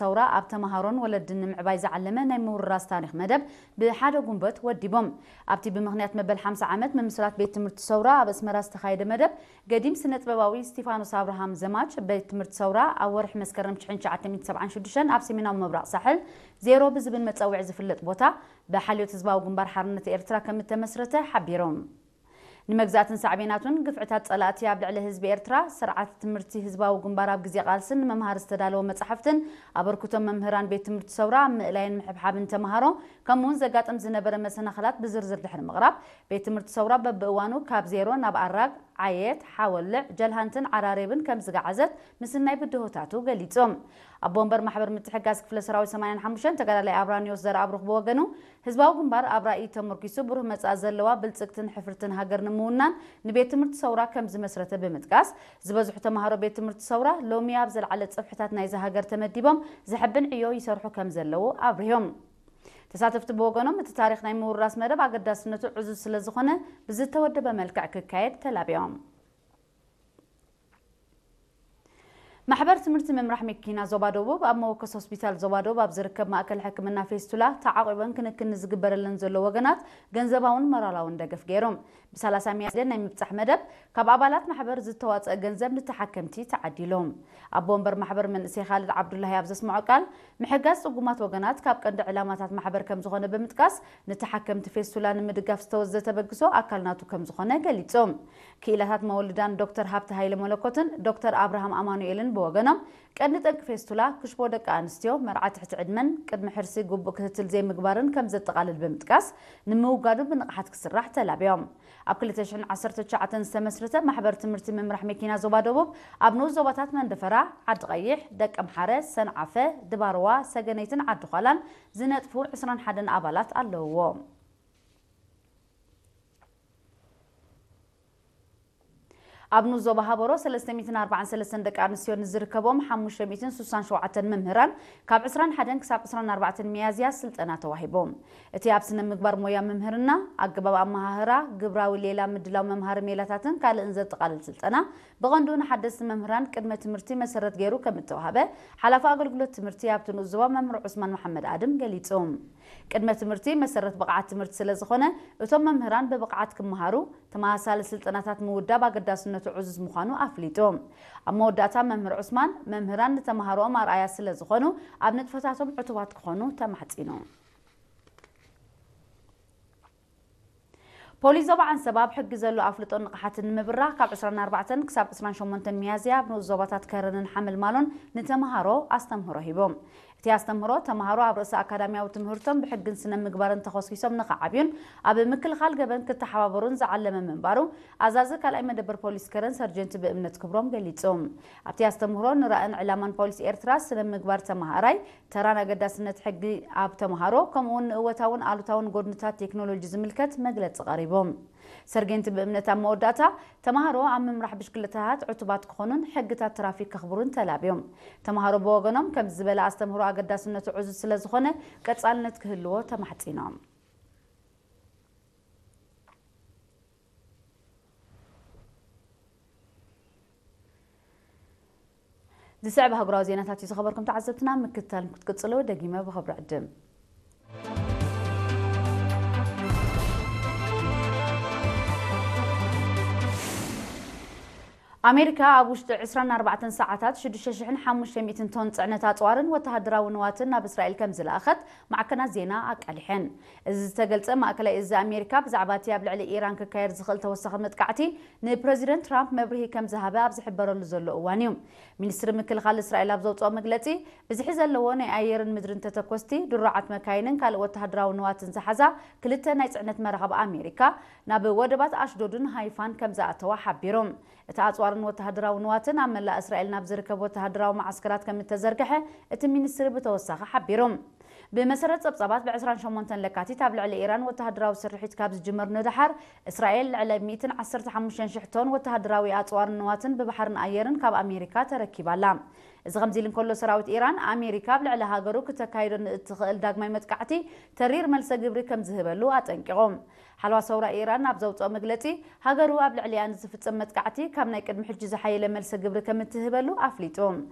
ሰውራ ኣብ ተምሃሮን ወለድን ንምዕባይ ዝዓለመ ናይ ምውርራስ ታሪኽ መደብ ብሓደ ጉንበት ወዲቦም። ኣብቲ ብምኽንያት መበል ሓምሳ ዓመት ምምስራት ቤት ትምህርቲ ሰውራ ኣብ ኣስመራ ዝተኻየደ መደብ፣ ገዲም ስነ-ጥበባዊ ስቲፋኖስ ኣብርሃም ዘማች፣ ቤት ትምህርቲ ሰውራ ኣብ ወርሒ መስከረም ሽሕን ትሽዓተ ሚእትን ሰብዓን ሽዱሽተን ኣብ ሰሜናዊ ምብራቕ ሳሕል ዜሮ ብዝብል መጸውዒ ዝፍለጥ ቦታ ብሓልዮት ህዝባዊ ግንባር ሓርነት ኤርትራ ከም እተመስረተ ሓቢሮም። ንመግዛእትን ሳዕቤናቱን ግፍዕታት ጸላእቲ ኣብ ልዕሊ ህዝቢ ኤርትራ፣ ስርዓት ትምህርቲ ህዝባዊ ግንባር ኣብ ግዜ ቃልስን ንመምሃሪ ዝተዳለወ መጻሕፍትን ኣበርክቶ መምህራን ቤት ትምህርቲ ሰውራ ኣብ ምእላይን ምሕብሓብን ተምሃሮ፣ ከምኡውን ዘጋጥም ዝነበረ መሰናኽላት ብዝርዝር ድሕሪ ምቕራብ፣ ቤት ትምህርቲ ሰውራ በብእዋኑ ካብ ዜሮ ናብ ኣራግ፣ ዓየት፣ ሓወልዕ፣ ጀልሃንትን ዓራሬብን ከም ዝገዓዘት ምስናይ ብድሆታቱ ገሊጹ። ኣቦ ወንበር ማሕበር ምትሕጋዝ ክፍለ ሰራዊት ሰማንያን ሓሙሽተን ተጋዳላይ ኣብራኒዮስ ዘርኣብሩኽ ብወገኑ፣ ህዝባዊ ግንባር ኣብ ራእይ ተመርኪሱ ብሩህ መጻኢ ዘለዋ ብልጽግትን ሕፍርትን ሃገር ንምውናን ንቤት ትምህርቲ ሰውራ ከም ዝመስረተ ብምጥቃስ፣ ዝበዝሑ ተምሃሮ ቤት ትምህርቲ ሰውራ ሎሚ ኣብ ዘለዓለ ጽፍሕታት ናይዛ ሃገር ተመዲቦም ዘሐብን ዕዮ ይሰርሑ ከም ዘለዉ ኣብሪሆም። ተሳተፍቲ ብወገኖም፣ እቲ ታሪኽ ናይ ምውራስ መደብ ኣገዳስነቱ ዕዙዝ ስለ ዝኾነ ብዝተወደበ መልክዕ ክካየድ ተላቢዮም። ማሕበር ትምህርቲ ምምራሕ መኪና ዞባ ደቡብ ኣብ መወከሲ ሆስፒታል ዞባ ደቡብ ኣብ ዝርከብ ማእከል ሕክምና ፌስቱላ ተዓቒበን ክንክን ንዝግበረለን ዘሎ ወገናት ገንዘባውን ሞራላውን ደገፍ ገይሩ። ብ30 ሚያዝያ ናይ ምብጻሕ መደብ ካብ ኣባላት ማሕበር ዝተዋጸአ ገንዘብ ንተሓከምቲ ተዓዲሉ። ኣቦ ወንበር ማሕበር መንእሰይ ካልድ ዓብዱላሂ ኣብ ዘስምዖ ቃል፣ ምሕጋዝ ጽጉማት ወገናት ካብ ቀንዲ ዕላማታት ማሕበር ከም ዝኾነ ብምጥቃስ፣ ንተሓከምቲ ፌስቱላ ንምድጋፍ ዝተወዘ ተበግሶ ኣካል ናቱ ከም ዝኾነ ገሊጹ። ክኢላታት መወልዳን ዶክተር ሃብተ ሃይለ መለኮትን ዶክተር ኣብርሃም ኣማኑኤልን ብወገኖም፣ ቀንዲ ጠንቂ ፌስቱላ ክሽቦ ደቂ ኣንስትዮ፣ መርዓ ትሕቲ ዕድመን ቅድሚ ሕርሲ ግቡእ ክትትል ዘይምግባርን ከም ዘጠቓልል ብምጥቃስ፣ ንምውጋዱ ብንቕሓት ክስራሕ ተላብዮም። ኣብ ክልተ ሽሕን ዓሰርተ ትሽዓተን ዝተመስረተ ማሕበር ትምህርቲ ምምራሕ መኪና ዞባ ደቡብ፣ ኣብ ንኡስ ዞባታት መንደፈራ፣ ዓዲ ቀይሕ፣ ደቀምሓረ፣ ሰንዓፈ፣ ድባርዋ፣ ሰገነይትን ዓዲ ዃላን ዝነጥፉ ዕስራን ሓደን ኣባላት ኣለውዎ። ኣብ ንኡስ ዞባ ሃበሮ ሰለስተ ሚእትን ኣርባዓን ሰለስተን ደቂ ኣንስትዮ ንዝርከቦም ሓሙሽተ ሚእትን ስሳን ሸውዓተን መምህራን ካብ ዕስራን ሓደን ክሳብ ዕስራን ኣርባዕተን ሚያዝያ ስልጠና ተዋሂቦም። እቲ ኣብ ስነ ምግባር ሞያ መምህርና፣ ኣገባብ ኣመሃህራ፣ ግብራዊ ሌላ ምድላው መምሃሪ ሜላታትን ካልእን ዘጠቓልል ስልጠና ብቐንዱ ንሓደስቲ መምህራን ቅድመ ትምህርቲ መሰረት ገይሩ ከም እተዋህበ ሓላፊ ኣገልግሎት ትምህርቲ ኣብቲ ንኡስ ዞባ መምህር ዑስማን መሓመድ ኣድም ገሊጹ። ቅድመ ትምህርቲ መሰረት ብቕዓት ትምህርቲ ስለ ዝኾነ፣ እቶም መምህራን ብብቕዓት ክመሃሩ ተመሳሳሊ ስልጠናታት ምውዳብ ኣገዳስነቱ ዕዙዝ ምዃኑ ኣፍሊጡ። ኣብ መወዳእታ መምህር ዑስማን፣ መምህራን ንተምሃሮኦም ኣርኣያ ስለ ዝኾኑ፣ ኣብ ንጥፈታቶም ዕቱባት ክኾኑ ተማሕጺኑ። ፖሊስ ዞባ ዓንሰባ ኣብ ሕጊ ዘሎ ኣፍልጦን ንቕሓትን ንምብራኽ ካብ ዕስራን ኣርባዕተን ክሳብ ዕስራን ሸሞንተን ሚያዝያ ኣብ ንኡስ ዞባታት ከረንን ሓመልማሎን ንተምሃሮ ኣስተምህሮ ሂቦም። እቲ ኣስተምህሮ ተምሃሮ ኣብ ርእሰ ኣካዳሚያዊ ትምህርቶም ብሕግን ስነ ምግባርን ተኾስኪሶም ንኽዓብዩን ኣብ ምክልኻል ገበን ክተሓባበሩን ዝዓለመ ምንባሩ ኣዛዚ ካልኣይ መደበር ፖሊስ ከረን ሰርጀንት ብእምነት ክብሮም ገሊጹ። ኣብቲ ኣስተምህሮ ንራእን ዕላማን ፖሊስ ኤርትራ፣ ስነ ምግባር ተምሃራይ፣ ተራን ኣገዳስነት ሕጊ ኣብ ተምሃሮ፣ ከምኡውን ንእወታውን ኣሉታውን ጎድንታት ቴክኖሎጂ ዝምልከት መግለጺ ቀሪቡ። ሰርጌንት ብእምነት ኣብ መወዳእታ፣ ተምሃሮ ኣብ ምምራሕ ብሽክለታታት ዕቱባት ክኾኑን ሕግታት ትራፊክ ከኽብሩን ተላብዮም። ተምሃሮ ብወገኖም፣ ከምዚ ዝበለ ኣስተምህሮ ኣገዳስነቱ ዕዙዝ ስለ ዝኾነ፣ ቀጻልነት ክህልዎ ተማሕጺኖም። ዝስዕብ ኣህጉራዊ ዜናታት እዩ ዝኸበርኩም ተዓዘብትና፣ ምክትታል ክትቅጽሉ ደጊመ ብኽብሪ ዕድም። ኣሜሪካ ኣብ ውሽጢ ዕስራን ኣርባዕተን ሰዓታት ሽዱሽተ ሽሕን ሓሙሽተ ሚእትን ቶን ጽዕነት ኣጽዋርን ወተሃደራዊ ንዋትን ናብ እስራኤል ከም ዝለኣኸት ማዕከናት ዜና ኣቃሊሐን። እዚ ዝተገልጸ፣ ማእከላይ እዚ ኣሜሪካ ብዛዕባ እቲ ኣብ ልዕሊ ኢራን ክካየድ ዝኽእል ተወሳኺ መጥቃዕቲ ንፕረዚደንት ትራምፕ መብርሂ ከም ዝሃበ ኣብ ዝሕበረሉ ዘሎ እዋን እዩ። ሚኒስትሪ ምክልኻል እስራኤል ኣብ ዘውጽኦ መግለጺ፣ ብዝሒ ዘለዎ ናይ ኣየርን ምድርን ተተኮስቲ፣ ድሩዓት መካይንን ካልእ ወተሃደራዊ ንዋትን ዝሓዛ ክልተ ናይ ጽዕነት መራኽብ ኣሜሪካ ናብ ወደባት ኣሽዶድን ሃይፋን ከም ዝኣተዋ ሓቢሩ። እቲ ኣጽዋርን ወተሃደራዊ ንዋትን ኣብ መላእ እስራኤል ናብ ዝርከብ ወተሃደራዊ መዓስከራት ከም እተዘርግሐ እቲ ሚኒስትሪ ብተወሳኺ ሓቢሩ። ብመሰረት ጸብጻባት፣ ብ ዕስራን ሸሞንተን ለካቲት ኣብ ልዕሊ ኢራን ወተሃደራዊ ስርሒት ካብ ዝጅመር ንደሓር፣ እስራኤል ልዕሊ ሚእትን ዓሰርተ ሓሙሽተን ሽሕ ቶን ወተሃደራዊ ኣጽዋርን ንዋትን ብባሕርን ኣየርን ካብ ኣሜሪካ ተረኪባ ኣላ። እዚ ከምዚ ኢሉ እንከሎ፣ ሰራዊት ኢራን፣ ኣሜሪካ ኣብ ልዕሊ ሃገሩ ክተካይዶ ንእትኽእል ዳግማይ መጥቃዕቲ ተሪር መልሰ ግብሪ ከም ዝህበሉ ኣጠንቂቑ። ሓለዋ ሰውራ ኢራን ኣብ ዘውፅኦ መግለፂ፣ ሃገሩ ኣብ ልዕሊኣ ንዝፍፀም መጥቃዕቲ ካብ ናይ ቅድሚ ሕጂ ዝሓየለ መልሰ ግብሪ ከም እትህበሉ ኣፍሊጡ።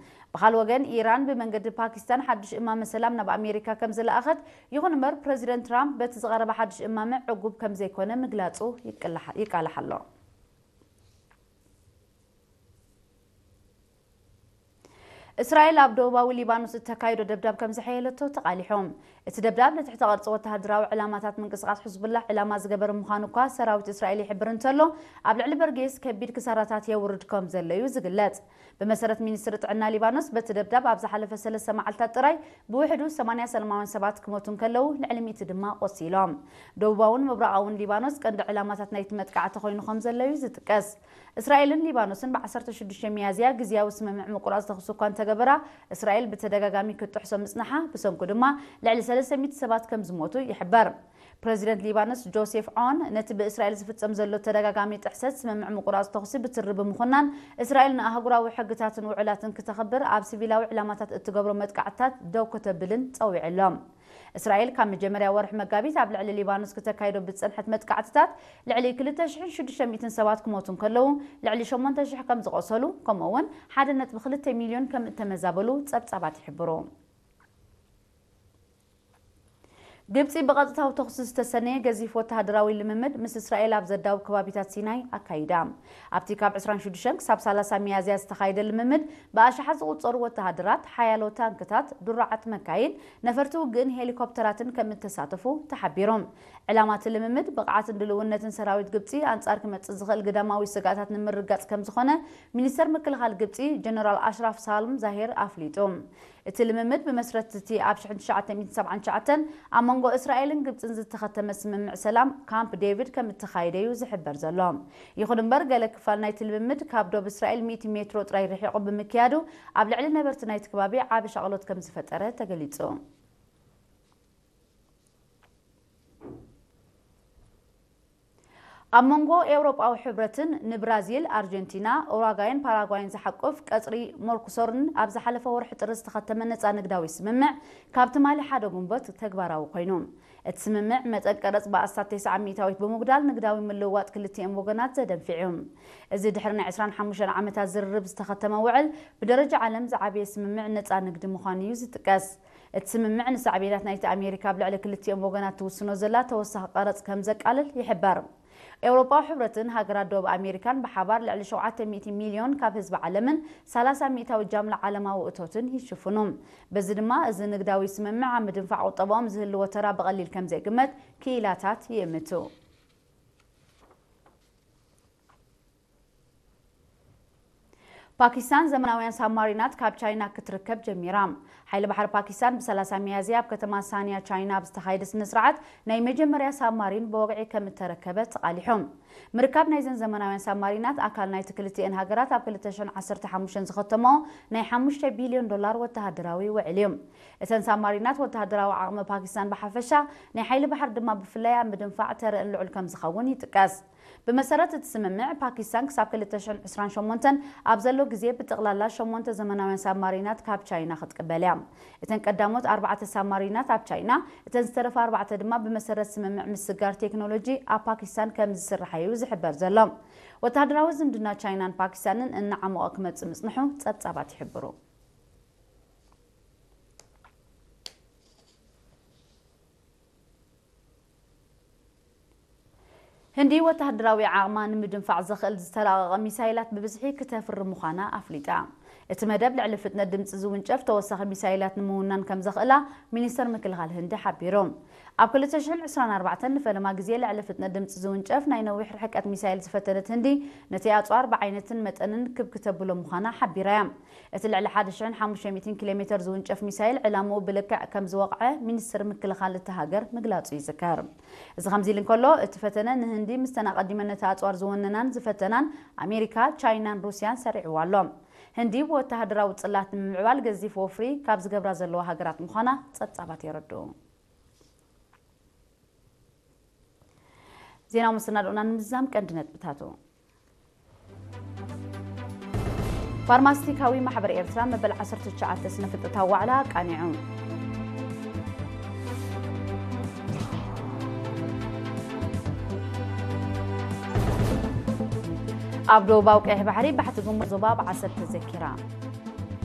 ብኻል ወገን፣ ኢራን ብመንገዲ ፓኪስታን ሓድሽ እማመ ሰላም ናብ ኣሜሪካ ከም ዝለኣኸት፣ ይኹን እምበር፣ ፕረዚደንት ትራምፕ በቲ ዝቐረበ ሓድሽ እማመ ዕጉብ ከም ዘይኮነ ምግላፁ ይቅላሕ-፣ ይቃላሕ ኣሎ። እስራኤል ኣብ ደቡባዊ ሊባኖስ እተካይዶ ደብዳብ ከም ዝሐየለቶ ተቓሊሖም። እቲ ደብዳብ ንትሕተ ቅርጺ ወተሃደራዊ ዕላማታት ምንቅስቓስ ሕዝቡላህ ዕላማ ዝገበረ ምዃኑ እኳ ሰራዊት እስራኤል ይሕብር እንተሎ፣ ኣብ ልዕሊ በርጌስ ከቢድ ክሳራታት የውርድ ከም ዘሎ እዩ ዝግለጽ። ብመሰረት ሚኒስትሪ ጥዕና ሊባኖስ፣ በቲ ደብዳብ ኣብ ዝሓለፈ ሰለስተ መዓልታት ጥራይ ብውሕዱ ሰማንያ ሰላማውያን ሰባት ክሞቱ እንከለዉ፣ ልዕሊ ሚእቲ ድማ ቆሲሎም። ደቡባውን ምብራቓውን ሊባኖስ ቀንዲ ዕላማታት ናይቲ መጥቃዕቲ ኮይኑ ከም ዘሎ እዩ ዝጥቀስ። እስራኤልን ሊባኖስን ብ ዓሰርተ ሽዱሽተ ሚያዝያ ግዝያዊ ስምምዕ ምቁራጽ ተኹሲ እኳ እንተገበራ፣ እስራኤል ብተደጋጋሚ ክትጥሕሶ ምጽንሓ፣ ብሰንኩ ድማ ልዕሊ ሰለስተ ሚእቲ ሰባት ከም ዝሞቱ ይሕበር። ፕረዚደንት ሊባኖስ ጆሴፍ ዖን፣ ነቲ ብእስራኤል ዝፍጸም ዘሎ ተደጋጋሚ ጥሕሰት ስምምዕ ምቁራጽ ተኹሲ ብትሪ ብምኹናን፣ እስራኤል ንኣህጉራዊ ሕግታትን ውዕላትን ክተኽብር፣ ኣብ ሲቪላዊ ዕላማታት እትገብሮ መጥቃዕትታት ደው ከተብልን ጸዊዑ ኣሎ። እስራኤል ካብ መጀመርያ ወርሒ መጋቢት ኣብ ልዕሊ ሊባኖስ ክተካይዶ ብዝጸንሐት መጥቃዕትታት፣ ልዕሊ ክልተ ሽሕን ሽዱሽተ ሚእትን ሰባት ክሞቱ እንከለዉ፣ ልዕሊ ሸሞንተ ሽሕ ከም ዝቖሰሉ፣ ከምኡ እውን ሓደ ነጥቢ ክልተ ሚልዮን ከም እተመዛበሉ ጸብጻባት ይሕብሩ። ግብጺ ብቐጥታዊ ተኹሲ ዝተሰነየ ገዚፍ ወተሃደራዊ ልምምድ ምስ እስራኤል ኣብ ዘዳውብ ከባቢታት ሲናይ ኣካይዳ። ኣብቲ ካብ ዕስራን ሽዱሽተን ክሳብ ሰላሳ ሚያዝያ ዝተኻየደ ልምምድ፣ ብኣሽሓት ዝቑጸሩ ወተሃደራት፣ ሓያሎ ታንክታት፣ ድሩዓት መካይን፣ ነፈርቲ ውግእን ሄሊኮፕተራትን ከም እተሳተፉ ተሓቢሩ። ዕላማ እቲ ልምምድ፣ ብቕዓትን ድልውነትን ሰራዊት ግብጺ ኣንጻር ክመጽእ ዝኽእል ግዳማዊ ስግኣታት ንምርግጋጽ ከም ዝኾነ፣ ሚኒስተር ምክልኻል ግብጺ ጀነራል ኣሽራፍ ሳልም ዛሄር ኣፍሊጡ። እቲ ልምምድ፣ ብመስረት እቲ ኣብ ሽሕን ትሽዓተ ሚእትን ሰብዓን ትሽዓተን ኣብ መንጎ እስራኤልን ግብጽን ዝተኸተመ ስምምዕ ሰላም ካምፕ ዴቪድ ከም እተኻየደ እዩ ዝሕበር ዘሎ። ይኹን እምበር፣ ገለ ክፋል ናይቲ ልምምድ ካብ ዶብ እስራኤል ሚእቲ ሜትሮ ጥራይ ርሒቑ ብምክያዱ፣ ኣብ ልዕሊ ነበርቲ ናይቲ ከባቢ ዓቢ ሻቕሎት ከም ዝፈጠረ ተገሊጹ። ኣብ መንጎ ኤውሮጳዊ ሕብረትን ንብራዚል፣ ኣርጀንቲና፣ ኡራጓይን ፓራጓይን ዝሓቁፍ ቀጽሪ ሞርኩሶርን ኣብ ዝሓለፈ ወርሒ ጥሪ ዝተኸተመ ነጻ ንግዳዊ ስምምዕ፣ ካብ ትማሊ ሓደ ጉንበት ተግባራዊ ኮይኑ። እቲ ስምምዕ፣ መጠን ቀረጽ ብኣስታት ተስዓ ሚእታዊት ብምጉዳል፣ ንግዳዊ ምልውዋጥ ክልቲኦም ወገናት ዘደንፍዕ እዩ። እዚ ድሕሪ ናይ ዕስራን ሓሙሽተን ዓመታት ዝርርብ ዝተኸተመ ውዕል፣ ብደረጃ ዓለም ዝዓበየ ስምምዕ ነጻ ንግዲ ምዃኑ እዩ ዝጥቀስ። እቲ ስምምዕ፣ ንሳዕቤናት ናይቲ ኣሜሪካ ኣብ ልዕሊ ክልቲኦም ወገናት ትውስኖ ዘላ ተወሳኺ ቀረጽ ከም ዘቃልል ይሕበር። ኤውሮጳዊ ሕብረትን ሃገራት ደቡብ ኣሜሪካን ብሓባር ልዕሊ ሸውዓተ ሚእቲ ሚልዮን ካብ ህዝቢ ዓለምን ሰላሳ ሚእታዊ ጃምላ ዓለማዊ እቶትን ይሽፍኑ። በዚ ድማ፣ እዚ ንግዳዊ ስምምዕ ኣብ ምድንፋዕ ቁጠባኦም ዝህልዎ ተራ ብቐሊል ከም ዘይግመት ክኢላታት ይእምቱ። ፓኪስታን ዘመናውያን ሳብማሪናት ካብ ቻይና ክትርከብ ጀሚራ። ሓይሊ ባሕሪ ፓኪስታን ብ ሰላሳ ሚያዝያ ኣብ ከተማ ሳንያ ቻይና ኣብ ዝተኻየደ ስነ ስርዓት፣ ናይ መጀመርያ ሳብማሪን ብወግዒ ከም እተረከበ ተቓሊሑ። ምርካብ ናይዘን ዘመናውያን ሳብማሪናት፣ ኣካል ናይቲ ክልቲኤን ሃገራት ኣብ ክልተ ሽሕን ዓሰርተ ሓሙሽተን ዝኸተመኦ ናይ ሓሙሽተ ቢልዮን ዶላር ወተሃደራዊ ውዕል እዩ። እተን ሳብማሪናት፣ ወተሃደራዊ ዓቕሚ ፓኪስታን ብሓፈሻ፣ ናይ ሓይሊ ባሕሪ ድማ ብፍላይ ኣብ ምድንፋዕ ተረአን ልዑል ከም ዝኸውን ይጥቀስ። ብመሰረት እቲ ስምምዕ፣ ፓኪስታን ክሳብ ክልተ ሽሕን ዕስራን ሸሞንተን ኣብ ዘሎ ግዜ፣ ብጠቕላላ ሸሞንተ ዘመናውያን ሳብማሪናት ካብ ቻይና ክትቅበል እያ። እተን ቀዳሞት ኣርባዕተ ሳብማሪናት ኣብ ቻይና፣ እተን ዝተረፋ ኣርባዕተ ድማ፣ ብመሰረት ስምምዕ ምስግጋር ቴክኖሎጂ፣ ኣብ ፓኪስታን ከም ዝስርሓ እዩ ዝሕበር ዘሎ። ወተሃደራዊ ዝምድና ቻይናን ፓኪስታንን እናዓሞቐ ክመጽእ ምጽንሑ ጸብጻባት ይሕብሩ። ህንዲ፣ ወተሃደራዊ ዓቕማ ንምድንፋዕ ዘኽእል ዝተራቐቐ ሚሳይላት ብብዝሒ ክተፍሪ ምዃና ኣፍሊጣ። እቲ መደብ፣ ልዕሊ ፍጥነት ድምጺ ዝውንጨፍ ተወሳኺ ሚሳይላት ንምውናን ከም ዘኽእላ ሚኒስተር ምክልኻል ህንዲ ሓቢሩ። ኣብ ክልተ ሽሕን ዕስራን ኣርባዕተን ንፈለማ ግዜ ልዕሊ ፍጥነት ድምጺ ዝውንጨፍ ናይ ነዊሕ ርሕቀት ሚሳይል ዝፈተነት ህንዲ፣ ነቲ ኣጽዋር ብዓይነትን መጠንን ክብ ክተብሎ ምዃና ሓቢራ እያ። እቲ ልዕሊ ሓደ ሽሕን ሓሙሽተ ሚእትን ኪሎ ሜተር ዝውንጨፍ ሚሳይል፣ ዕላምኡ ብልክዕ ከም ዝወቕዐ ሚኒስትሪ ምክልኻል እታ ሃገር ምግላጹ ይዝከር። እዚ ከምዚ ኢሉ እንከሎ፣ እቲ ፈተነ ንህንዲ ምስተን ኣቐዲመን ነቲ ኣጽዋር ዝወነናን ዝፈተናን ኣሜሪካ፣ ቻይናን ሩስያን ሰሪዕዋ ኣሎ። ህንዲ ወተሃደራዊ ጽላት ንምምዕባል ገዚፍ ወፍሪ ካብ ዝገብራ ዘለዋ ሃገራት ምዃና ጸብጻባት የረድኡ። ዜናዊ መሰናድኦና ንምዝዛም ቀንዲ ነጥብታቱ። ፋርማስቲካዊ ማሕበር ኤርትራ መበል ዓሰርተ ትሽዓተ ስነ ፍልጠታዊ ዋዕላ ኣቃኒዑ። ኣብ ደቡባዊ ቀይሕ ባሕሪ ባሕቲ ግንቦት ዞባ ብዓሰብ ተዘኪራ።